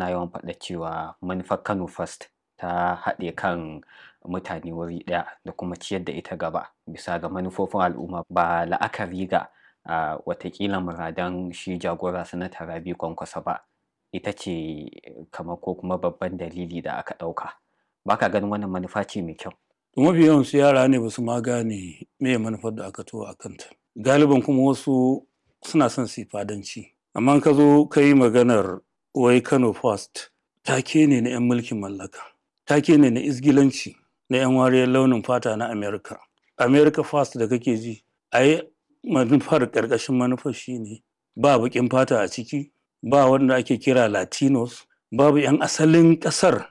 Suna yawan faɗa cewa manufar Kano First ta haɗe kan mutane wuri ɗaya da kuma ciyar da ita gaba bisa ga manufofin al'umma ba la'akari ga watakila muradan shi jagora Sanata Rabi'u Kwankwaso ba, ita ce kamar ko kuma babban dalili da aka ɗauka. Ba ka ganin wannan manufa ce mai kyau? Mafi yawan su yara ne ba su ma gane me manufar da aka tuwa a kanta. Galiban kuma wasu suna son su yi fadanci. Amma ka zo ka yi maganar wai Kano First, take ne na 'yan mulkin mallaka, take ne na izgilanci na 'yan wariyar launin fata na America. America First da kake ji, ai manufar ƙarƙashin manufar shine ba baƙin fata a ciki, ba wanda ake kira Latinos, babu 'yan asalin ƙasar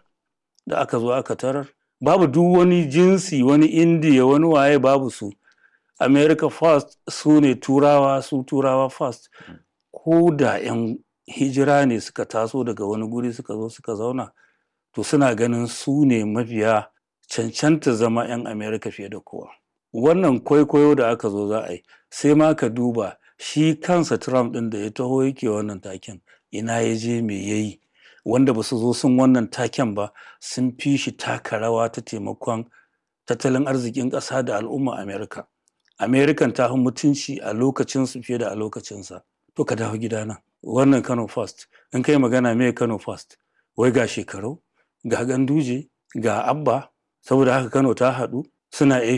da aka zo aka tarar, babu duk wani jinsi, wani Indiya, wani waye babu su. America First su ne Turawa, su Turawa First. Ko da 'yan hijira ne suka taso daga wani guri suka zo suka zauna, to suna ganin su ne mafiya cancanta zama 'yan America fiye da kowa. Wannan kwaikwayo da aka zo za a yi, sai ma ka duba shi kansa Trump ɗin da ya taho yake wannan taken, ina ya je me ya yi, wanda ba su zo sun wannan taken ba sun fi shi taka rawa ta taimakon tattalin arzikin ƙasa da al'umma America. American ta fi mutunci a lokacinsu fiye da a lokacinsa. To ka dawo gidana. Wannan Kano First, in kai magana me Kano First, wai ga Shekaru, ga Ganduje, ga Abba, saboda haka Kano ta haɗu, suna